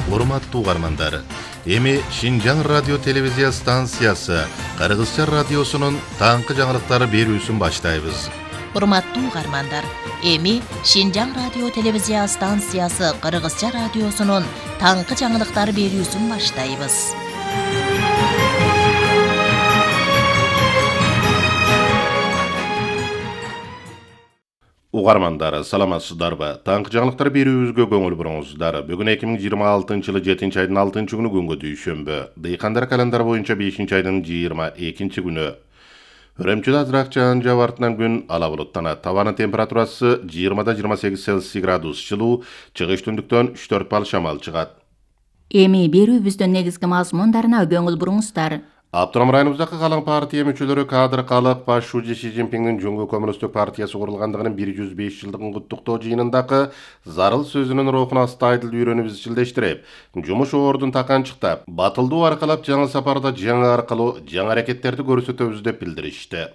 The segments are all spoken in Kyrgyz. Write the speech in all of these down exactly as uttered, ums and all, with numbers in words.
Урматтуу угармандар, эми Шинжаң радио телевизия станциясы Кыргызча радиосунун таңкы жаңылыктары берүүсүн баштайбыз. Урматтуу угармандар, эми Шинжаң радио телевизия станциясы Кыргызча радиосунун таңкы жаңылыктары берүүсүн баштайбыз. Угармандар, саламатсыздарбы? Таңкы жаңылыктар берүүбүзгө көңүл буруңуздар. Бүгүн эки миң жыйырма алтынчы жылы жетинчи айдын алтынчы күнү күнгө дүйшөмбү. Дыйкандар календары боюнча бешинчи айдын жыйырма экинчи күнү. Өрөмчүдө азыраак жаан жаап артынан күн ала булуттанат. Табанын температурасы жыйырмада жыйырма сегиз Цельсий градус жылуу, чыгыш түндүктөн үч төрт бал шамал чыгат. Эми берүүбүздүн негизги мазмундарына көңүл буруңуздар. Автоном районубуздагы калың партия мүчөлөрү кадр калып баш шужи Си Цзиньпиндин Жөнгө Коммунисттик партиясы курулгандыгынын бир жүз беш жылдыгын куттуктоо жыйынындагы зарыл сөзүнүн рухуна астайдыл үйрөнүп изчилдештирип, жумуш ордун таканчыктап, батылдуу аркалап жаңы сапарда жаңы аркылуу жаңы аракеттерди көрсөтөбүз деп билдиришти.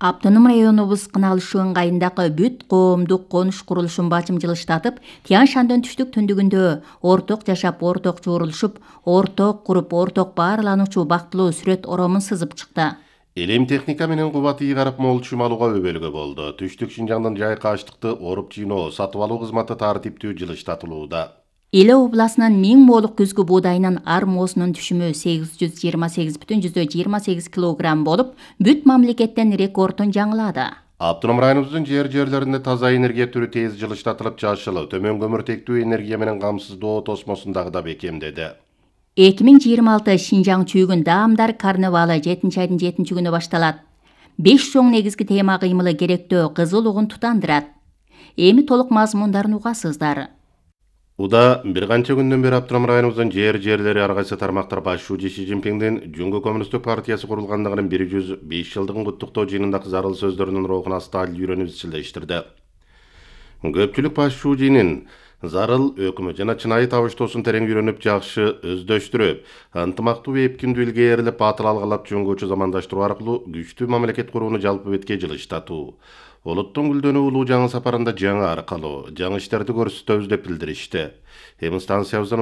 Автоном районубуз Кыналыш ыңгайындагы бүт коомдук конуш курулушун бачым жылыштатып, Тянь-Шаньдын түштүк түндүгүндө орток жашап, орток жуурулушуп, орток куруп, орток баарлануучу бактылуу сүрөт оромун сызып чыкты. Элем техника менен кубат ийгарып мол чүм алууга өбөлгө болду. Түштүк Шинжаңдын жайкы аштыкты оруп жыйноо, сатып алуу кызматы тартиптүү жылыштатылууда. Эле областынын миң моолук күзгү буудайынын ар моосунун түшүмү сегиз жүз жыйырма сегиз бүтүн жүздөн жыйырма сегиз килограмм болуп, бүт мамлекеттен рекордун жаңылады. Автоном районубуздун жер жерлеринде таза энергия түрү тез жылыштатылып, жашыл, төмөн көмүртектүү энергия менен камсыздоо тосмосун дагы да бекемдеди. эки миң жыйырма алты Шинжаң чүйгүн даамдар карнавалы жетинчи айдын жетинчи күнү башталат. Беш чоң негизги тема кыймылы керектөө кызыл угун тутандырат. Эми толук мазмундарын угасыздар. Уда бир канча күндөн бери Автоном районубуздун жер жерлери ар кайсы тармактар баш шужи Си Цзиньпиндин Жөнгө Коммунисттик партиясы курулгандыгынын бир жүз беш жылдыгын куттуктоо жыйынындагы зарыл сөздөрүнүн рухуна астайдыл үйрөнүп изчилдештирди. Көпчүлүк баш шужинин зарыл өкмөт жана чынайы табыштоосун терең үйрөнүп, жакшы өздөштүрүп, ынтымактуу эпкиндүү илгээрип, батыл алгалап жөнгөчө замандаштыруу аркылуу күчтүү мамлекет курууну жалпы бетке жылыштатуу. Улуттун гүлдөнүү улуу жаңы сапарында жаңы аркылуу, жаңы иштерди көрсөтөбүз деп билдиришти. Эми станциябыздан